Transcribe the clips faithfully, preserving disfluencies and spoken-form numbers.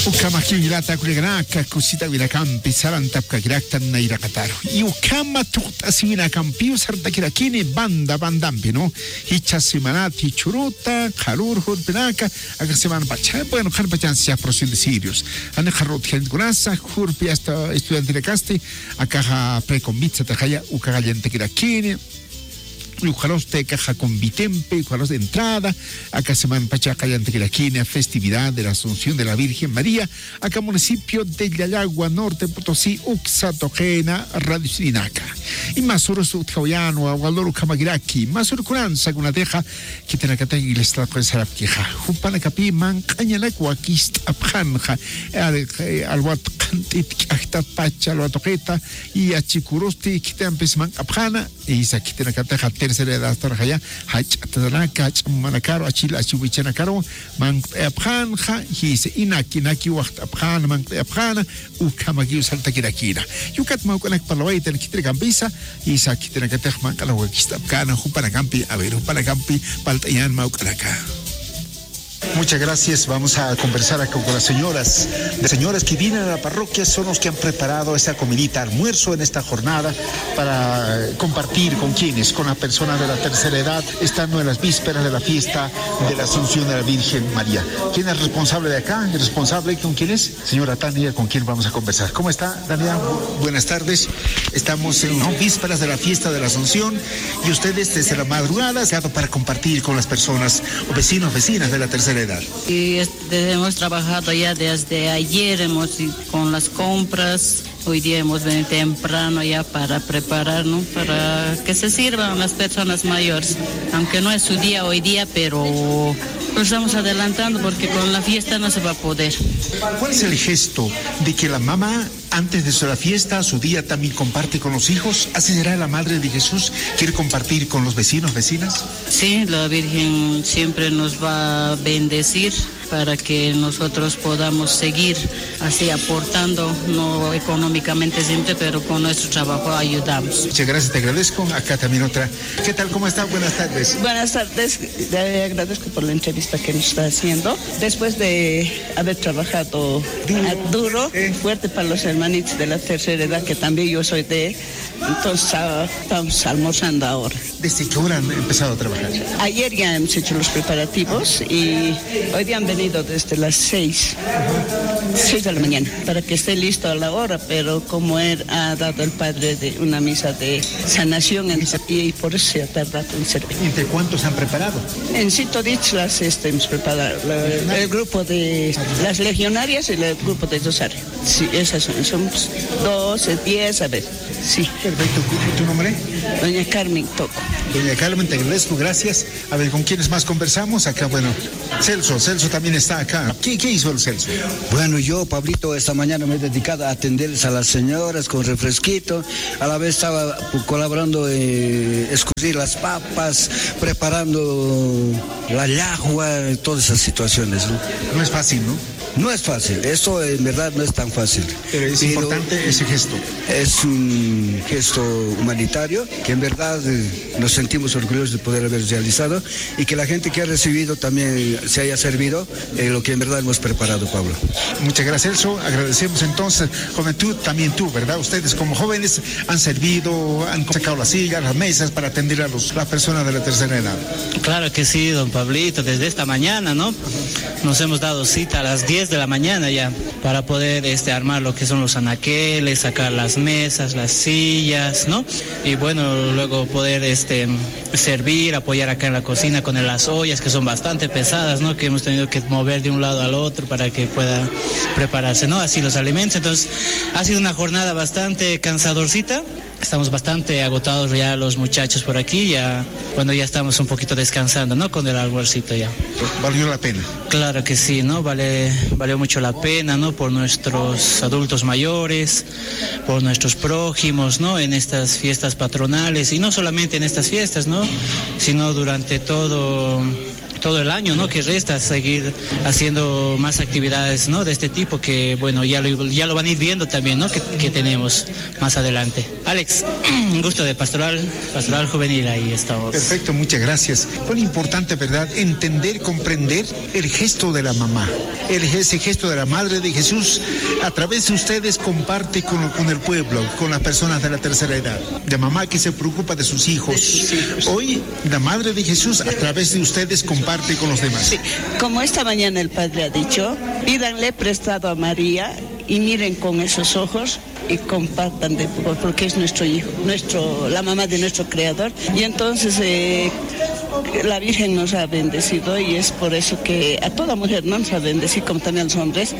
Ukhamakiw jilata kullakanaka, kusitawinakampi sarantapkakiraktan nayraqataru. Y ukhama tuqt'asiwinakampiw sartakirakini banda bandampi, ¿no? Jichha semanat, jichhüruta, qharür jurpinaka, aka semana pacha. Bueno, qhanpachansa procesión de cirios. Jani qharürut gentkunasa, jurpi hasta estudiantinakasti, akaxa preconvit satixaya, ukaxa allantakirakini. Ukxarusti akaxa convitempi, ukxarusti entrada, aka semana pacha allantakirakini festividad de la Asunción de la Virgen María, aka municipio de Llallagua, Norte Potosí, uksa tuqina radiosinaka. Y masürus utjawayänwa, walur ukhamakiraki, masürkunan sakunatixa, khitinakatix iglesiat sarapkixa. Jupanakapï manq'añanak wakist'apxänxa, al-, alwat qhant'it k'ajtat pacha, alwat tuqita, y achikurusti khitinampis manq'apxäna, Jisa khitinakatix tercera edad astarxaya, jach'atanaka, jach'a mamanakaru, achil, achiw wichanakaru, manq't'ayapxänxa, jisa inaki, inaki waxt'apxäna, manq't'ayapxäna, ukhamakiw sartakirakina. Ukat mä juk'anak parlawaytan khitinakampisa, jisa khitinakatix manq'anak wakist'apkäna, jupanakampi, a ver, jupanakampi, palt'añän mä juk'anaka. Muchas gracias. Vamos a conversar acá con las señoras. Las señoras que vienen a la parroquia son los que han preparado esa comidita almuerzo en esta jornada para, eh, compartir con quienes, con las personas de la tercera edad, estando en las vísperas de la fiesta de la Asunción de la Virgen María. ¿Quién es responsable de acá? ¿Responsable con quién es? Señora Tania, ¿con quién vamos a conversar? ¿Cómo está, Tania? Bu-, buenas tardes. Estamos en, ¿no?, vísperas de la fiesta de la Asunción y ustedes desde la madrugada se han para compartir con las personas o vecinos, vecinas de la tercera edad. Y este, hemos trabajado ya desde ayer, hemos ido con las compras. Hoy día hemos venido temprano ya para preparar, ¿no? Para que se sirvan las personas mayores. Aunque no es su día hoy día, pero nos estamos adelantando porque con la fiesta no se va a poder. ¿Cuál es el gesto de que la mamá, antes de su, la fiesta, su día, también comparte con los hijos? ¿Así será la madre de Jesús? ¿Quiere compartir con los vecinos, vecinas? Sí, la Virgen siempre nos va a bendecir para que nosotros podamos seguir así aportando, no económicamente siempre, pero con nuestro trabajo ayudamos. Muchas gracias, te agradezco. Acá también otra. ¿Qué tal? ¿Cómo está? Buenas tardes. Buenas tardes. Le agradezco por la entrevista que nos está haciendo. Después de haber trabajado, ah, duro, fuerte para los hermanitos de la tercera edad, que también yo soy de, entonces, ah, estamos almorzando ahora. ¿Desde qué hora han empezado a trabajar? Ayer ya hemos hecho los preparativos y hoy día han venido desde las seis, seis de la mañana, para que esté listo a la hora, pero como él ha dado el padre de una misa de sanación, en-, y por eso se ha tardado en servir. ¿Entre cuántos han preparado? En sí, toditas las, este, hemos preparado, la, el grupo de las legionarias y el grupo de Rosario. Sí, esas son, somos doce, diez, a ver, sí. Perfecto. ¿Y tu nombre? Doña Carmen Toco. Doña Carmen, te agradezco, gracias. A ver, ¿con quiénes más conversamos? Acá, bueno, Celso, Celso también está acá. ¿Qué, qué hizo el Celso? Bueno, yo, Pablito, esta mañana me he dedicado a atenderles a las señoras con refresquito. A la vez estaba colaborando, eh, escurrir las papas, preparando la llajua, todas esas situaciones, ¿no? No es fácil, ¿no? No es fácil, esto en verdad no es tan fácil. Pero es importante ese gesto. Es un gesto humanitario que en verdad, eh, nos sentimos orgullosos de poder haber realizado y que la gente que ha recibido también se haya servido en lo que en verdad hemos preparado, Pablo. Muchas gracias, Celso. Agradecemos entonces, juventud, también tú, ¿verdad? Ustedes como jóvenes han servido, han sacado las sillas, las mesas para atender a los, las personas de la tercera edad. Claro que sí, don Pablito, desde esta mañana, ¿no? Nos hemos dado cita a las diez de la mañana ya para poder, este, armar lo que son los anaqueles, sacar las mesas, las sillas, ¿no? Y bueno, luego poder, este, servir, apoyar acá en la cocina con las ollas que son bastante pesadas, ¿no? Que hemos tenido que mover de un lado al otro para que pueda prepararse, ¿no? Así los alimentos. Entonces, ha sido una jornada bastante cansadorcita. Estamos bastante agotados ya los muchachos por aquí, ya, bueno, ya estamos un poquito descansando, ¿no? Con el almuercito ya. ¿Valió la pena? Claro que sí, ¿no? Vale, valió mucho la pena, ¿no? Por nuestros adultos mayores, por nuestros prójimos, ¿no? En estas fiestas patronales, y no solamente en estas fiestas, ¿no? Sino durante todo, todo el año, ¿no? Que resta, seguir haciendo más actividades, ¿no? De este tipo que, bueno, ya lo, ya lo van a ir viendo también, ¿no? Que, que tenemos más adelante. Alex, un gusto de Pastoral, Pastoral Juvenil, ahí estamos. Perfecto, muchas gracias. Fue importante, ¿verdad? Entender, comprender el gesto de la mamá. El, ese gesto de la Madre de Jesús, a través de ustedes, comparte con, con el pueblo, con las personas de la tercera edad. La mamá que se preocupa de sus hijos. De sus hijos. Hoy, la Madre de Jesús, a través de ustedes, comparte con los demás. Sí, como esta mañana el padre ha dicho, pídanle prestado a María y miren con esos ojos y compartan de, porque es nuestro hijo, nuestro, la mamá de nuestro creador. Y entonces eh, la Virgen nos ha bendecido y es por eso que a toda mujer, ¿no?, nos ha bendecido, como también a los hombres,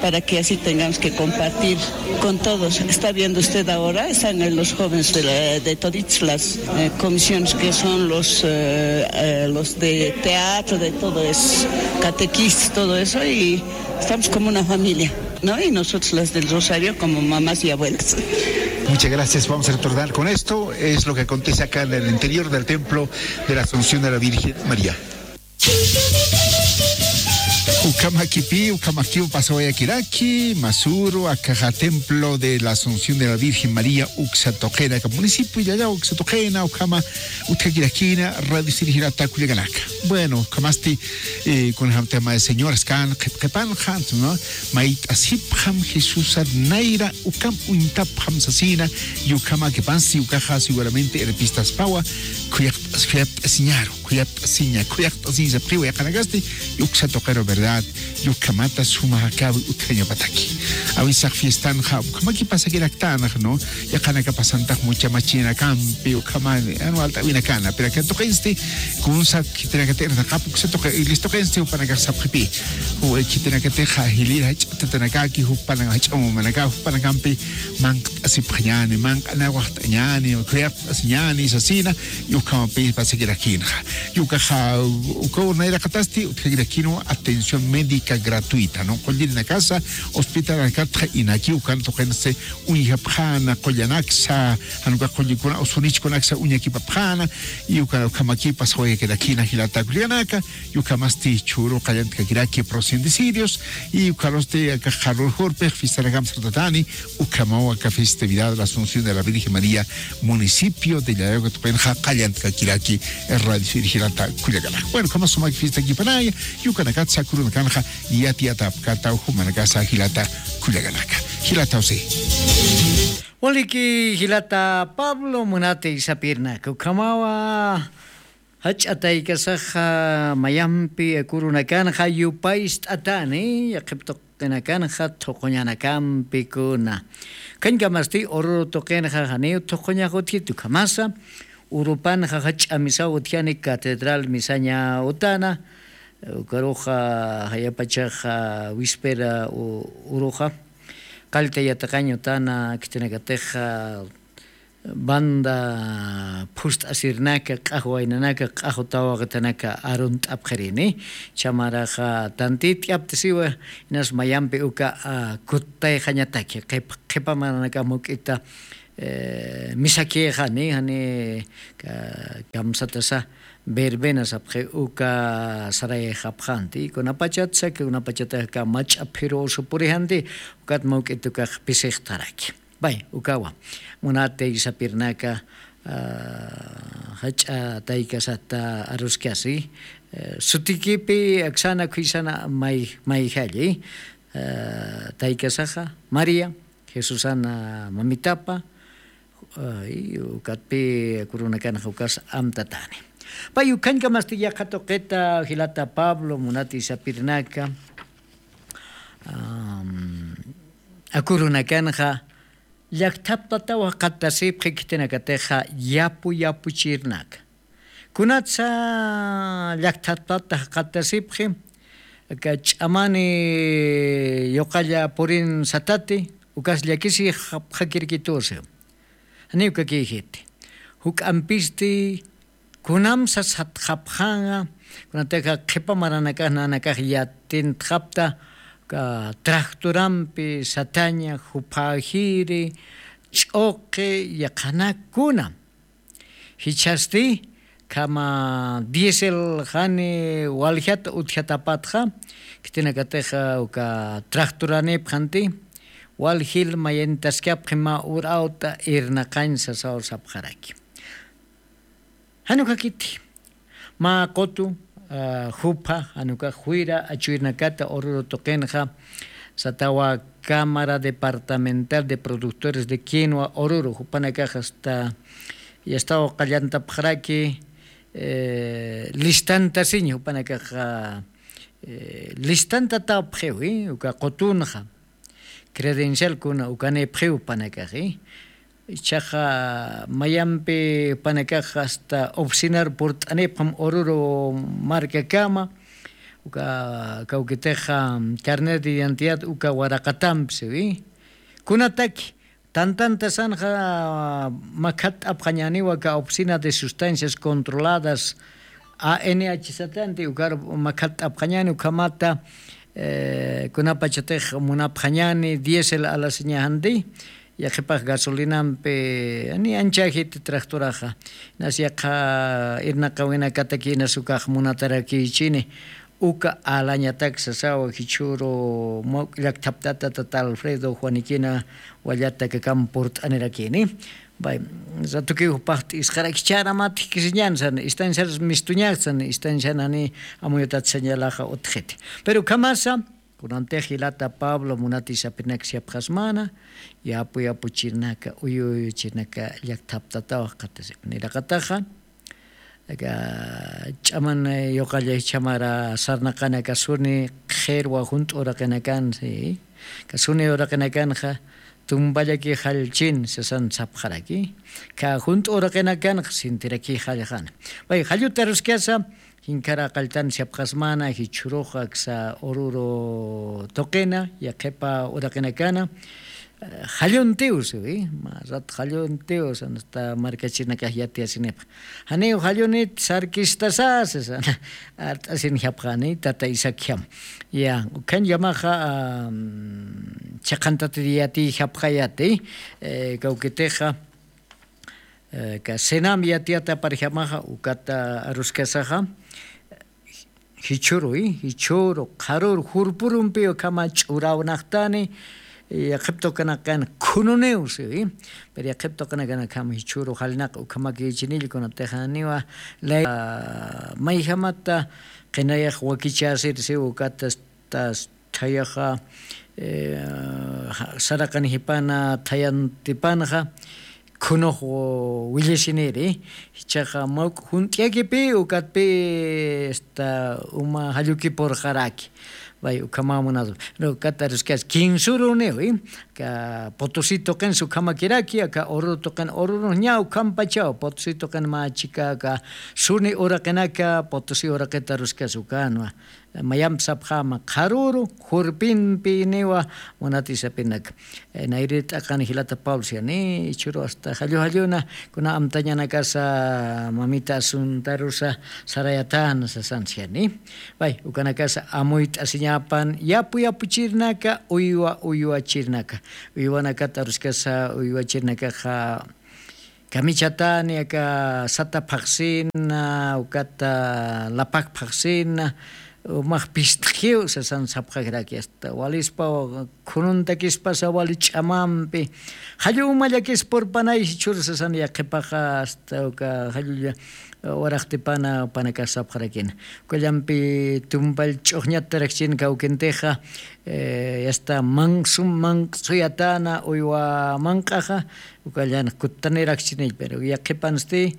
para que así tengamos que compartir con todos. Está viendo usted ahora, están en los jóvenes de, la- de todas las eh, comisiones que son los, eh, eh, los de teatro, de todo eso, catequistas, todo eso, y estamos como una familia, ¿no? Y nosotros las del Rosario como mamás y abuelas. Muchas gracias. Vamos a retornar con esto. Es lo que acontece acá en el interior del templo de la Asunción de la Virgen María. Ukhamakipi, ukhamakiw pasawayakiraki, masuru, akaxa templo de la Asunción de la Virgen María, uksa tuqina, aka municipio, ya, ya, uksa tuqina, ukhama, utjakirakina, radio sirjirata kullakanaka. Bueno, ukhamasti, eh, kunjam tema de señoras kan, qhip qhipanxa, ¿no? Mayt'asipxam Jesusa nayra, ukam uñtapxam sasina, y ukhamakipansti, ukaxa seguramente herpistaspawa, khuyaqt'as, khuyapt'asiñaru. Khuyapt'asiña, khuyaqt'asiñ sapxiwa yaqanakasti, uksa tuqiru, ¿verdad? Ukhamata suma akawi utjañapataki. Awisax fiestanxa, ukhamaki pasakiraktanx, ¿no? Yaqanaka pasantax muchamachinakampi, ukhama, anu alt'awinakana, pero aka tuqinsti, kunsa khitinakatix irnaqap uksa tuqi, iglesia tuqinsti, jupanakax sapxipi. Ju, khitinakatixa jilïr jach'atatanakaki, jupanak jach'a mamanaka, jupanakampi, manq't'asipxañäni, manq'anawaxt'añäni, khuyap asiñäni sasina, y ukhamapï pasakirakinxa. Y ukaxa, uka urnayraqatasti, utjakirakinu atención médica gratuita, ¿no? Qullirinakasa, hospitalanakatxa inaki, ukan tuqinsti uñjapxäna, qullanaksa, jan uka qullikuna, usunichkunaksa uñakipapxäna, y uka, ukhamaki pasawayakirakina jilata kullakanaka, y ukhamasti chhuru qallantkakiraki procesión de cirios, y ukharusti aka qharur jurpix fiestanakamp sartatani, ukhamaw aka festividad la Asunción de la Virgen María, municipio de Llallagu tuqinxa qallantkakiraki, radio sirjirata kullakanaka. Bueno, ukhama sumaki fiestakipanaya, y ukanakatsa kurunakanxa yatiyatapkata, jumanakasa jilata kullakanaka. Jilata José. Waliki jilata Pablo, munati sapirnaka. Ukhamawa jach'a taykasaxa mayampi kurunakanxa yupayst'atani, yaqhip tuqinakanxa thuquñanakampi kuna. Kañkamasti uru tuqinxa janiw thuquñax utjiti, ukhamasa urupanxa jach'a misaw utjani, catedral misaña utana, ukaruxa jayapachaxa wispera u-, uruxa qallta yatiqañ utana, khitinakatixa banda phust'asirnaka, q'ax waynanaka, q'ax tawaqitanaka arunt'apxirini. Chhamaraxa tantit yaptasiwa, inas mayampi uka, a, kuttayxañataki, qhip-, qhipa maranaka muk'ita, eh, misakïxani, jani, ka-, kamsatasa verbena sapxi uka sarayxapxanti, kunapachatsa, kunapachataka mach'a phiru usu purijanti, ukat muk'it ukax pisixtaraki. Bay, ukawa. Munati sapirnaka, ah, jach'a taykasata aruskasi, eh, sutikipi aksana khuysana may-, mayjalli, eh, taykasaxa, María, Jesusana mamitapa, eh, y ukatpi kurunakanxa ukas amtatani. Pay ukhañkamasti yaqha tuqita jilata Pablo, munati sapirnaka, am, akurunakanxa, llakthaptataw jaqatasipxi khitinakatixa yapu yapuchirnaka. Kunatsa llakthaptata jaqatasipxi, aka ch'amani yuqalla purin satati, ukas llakisixapxakirkitusi. Janiw kakïjiti. Juk'ampisti kunamsa satxapxänxa, kunatixa qhipa maranakax nanakax yatintxapta, ka-, tractorampi sataña, juphaxiri, ch'uqi, yaqhanakuna. Jichhasti, khama diésel jani waljat utjatapatxa, khitinakatixa uka tractoranipxanti, waljil mayantaskapxi mä urawta irnaqañ sasaw sapxaraki. Jan ukakiti, mä qutu, jupha janukax juyra achuyrinakata ururu tuqinxa, satawa cámara departamental de productores de quinua ururu jupanakax asta yastaw qallantapxaraki. Listantasiñ jupanakaxa listantatapxiwi uka qutunxa credencial kuna ukanipxiw panakaxi. Ichaxa mayampi panakax asta oficinar purt'anipxam ururu markakama uka kawkitixa carnet de identidad uka waraqatampsiwi. Kunataki tantantasanxa makhatt'apxañaniwa ka oficina de sustancias controladas, anhsatanti ukar makhatt'apxañani ukhamata kunapachatix munapxañani diésel alasiñaxanti. Yaqhipax gasolinampi ni anchajiti tractoraxa, inas yaqha irnaqawinakataki inas ukax munatarakïchini. Uka alañatak sasawa jichhüru mawk'u llakthaptata tata alfredo juanikina wallatakakam purt'anirakini. Bay, ratukiw jupax t'isqarakichäramat jikisiñan san istanciar mistuñax san istancianani amuyutat sañalaxa utjiti. Pero ukhamasa kunantix jilata pablo munati sapirnak siapxasmana yapu yapu chirnaka uyu uyu chirnaka llakthaptatawax qatasip niraqataxa aka ch'aman yuqalla ichamara sarnaqanaka suni qhirwa junt'u uraqinakan si ka suni uraqinakanxa tumpallaki jallchin sasan sapxaraki. Ka junt'u uraqinakanxa sintiraki jallxana. Bay jalluta ruskasa jinkara qalltan siapxasmana jichhurux aksa ururu tuqina yaqhipa uraqinakana jalluntiw siwi. Mä rat jalluntiw sanasta markachinakax yatiyasinipa janiw jallunit sarkistasa sasana art'asinjapxani tata isakham. Ya ukhañllamaxa chiqantatiri yatiyjapxayati kawkitixa ka cenam yatiyataparjamaxa ukata aruskasaxa jichhüruy jichhüru qharüru jurpürumpi ukhama ch'urawnaqtani. Yaqhip tuqinaqkan khununiw siwi. Pero yaqhip tuqinakanakham jichhüru jalnaq ukhamakïchinillkunatixaniwa lay mayjamata qinayax wakichäsir siw ukata asta thayaxa saraqanijipana thayantipanxa khunux willasiniri. Jichhaxa mawk'u junt'iyakipi ukatpi asta uma jallukipurxaraki. Bay ukhamamunatu pero ukat aruskasi kinsuruniwi. Ka potosi tuqinsi ukhamakiraki aka ururu tuqin ururux ña ukhampachaw potosi tuqin mä chika aka suni uraqinaka potosi uraqita aruskasi ukanwa. Mayampi sapxäma qharüru jurpinpiniwa munati sapinaka. Nayri t'aqan jilata pablo siyani jichhüru asta jallu jalluna kuna amtañanakasa mamita asuntarusa sarayatana sasan siyani. Bay ukanakasa amuyt'asiñapan yapu yapuchirnaka uywa uywachirnaka. Uywanakata aruskasa uywachirnakaxa kamichatani aka sata phaqsina ukata lapak phaqsina umax pist'jiw sasan sapxakraki asta walispa khununtakispasa wali ch'amampi jallu uma llakis purpanay jichhür sasan yaqhipaxa asta uka jallulla waraqtipana panakax sapxarakina. Ukallampi tumpall ch'uxñatarakchin kawkintixa asta mansum manq'suyatana uywa manq'axa ukallan kuttanirakchinill pero yaqhipansti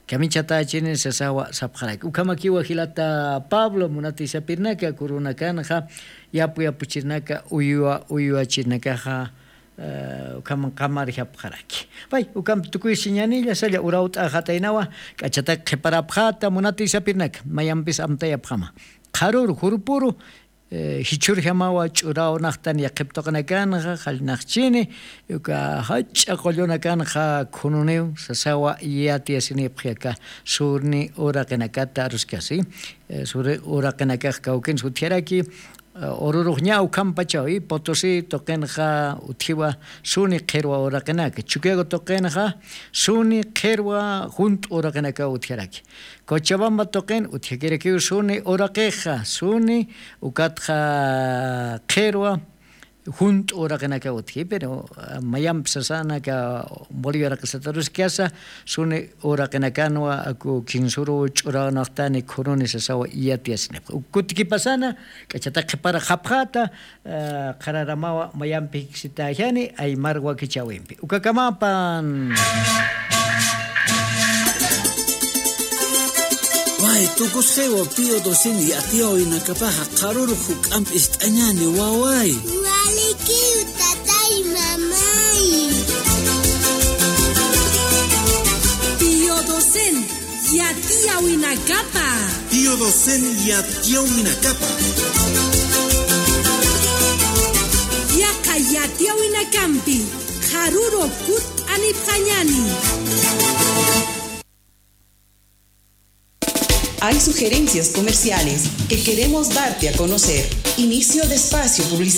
kamichatächini sasawa sapxaraki ukhamakiwa jilata pablo munati sapirnaka kurunakanxa yapu yapuchirnaka uywa uywachirnakaxa ukham qamarjapxaraki. Pay ukham tukuysiñanilla salla urawt'axataynawa k'achatak qhiparapxata munati sapirnaka mayampis amtayapxama qharüru jurpüru jichhürjamawa ch'urawnaqtan yaqhip tuqinakanxa jallnaqchini uka jach'a qullunakanxa khununiw sasawa yatiyasinipxi aka suni uraqinakata aruskasi. Suni uraqinakax kawkinsa utjaraki ururux ña ukhampachawi potosi tuqinxa utjiwa suni qhirwa uraqinaka chukiago tuqinxa suni qhirwa junt'u uraqinakaw utjaraki. Cochabamba tuqin utjakirakiw suni uraqixa suni ukatxa qhirwa junt'u uraqinakaw utji, pero mayampi sasanaka Bolivia raqisataruskasa, suni uraqinakanwa aku kinsuruw ch'uranxtani khuruni sasawa yatiyasinipxi. Uk kutikipasana, k'achata qhipara qhapxata, qhararamawa mayampi jiksitaxani aymar wakichäwimpi. Ukakamapan. Way, tukusxiwa Pío doce yatiyawinakapaxa qharuru juk'amp ist'añani, waway. Walikiw, tatay, mamay. Pío doce yatiyawinakapa. Pío doce yatiyawinakapa. Yaqha yatiyawinakampi qharuru kutt'anipxañani. Hay sugerencias comerciales que queremos darte a conocer. Inicio de espacio publicitario.